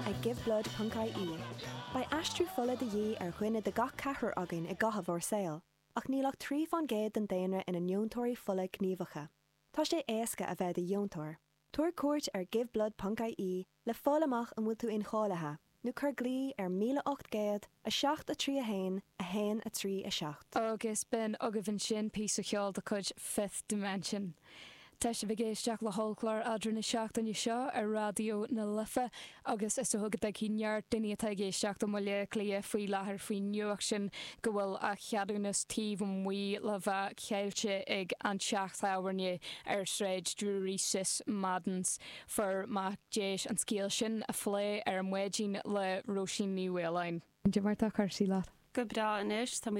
ag giveblood.ie. Beidh aistriú fola de dhíth ar dhuine de gach ceathrar againn i gcaitheamh ár saoil, ach níl ach 3 fán gcéad den daonra ina ndeontóirí fola gníomhacha. Tá sé éasca a bheith i do dheontóir. Tabhair cuairt ar giveblood.ie le fáil amach an bhfuil tú incháilithe, nó cuir glao ar 1800 7 3 1 1 3 7. Agus b'in agaibh ansin píosa cheoil de chuid Fifth Dimension. Tá sibh ag éisteacht le hollchlár Eadra na seachtaine seo ar Raidió na Life agus is dócha go dtuigfidh neart daoine atá ag éisteacht i mBaile Átha Cliath faoi láthair faoin nuacht sin go bhfuil a cheadúnas taobh amuigh le bheith caillte ag an teach tábhairne ar Shráid Drury Sis Madden's. Fuair mé deis an scéal sin a phlé ar maidin le Róisín Ní Mhaoláin. Cad é mar atá cúrsaí leat? Go breá anois, tá mé.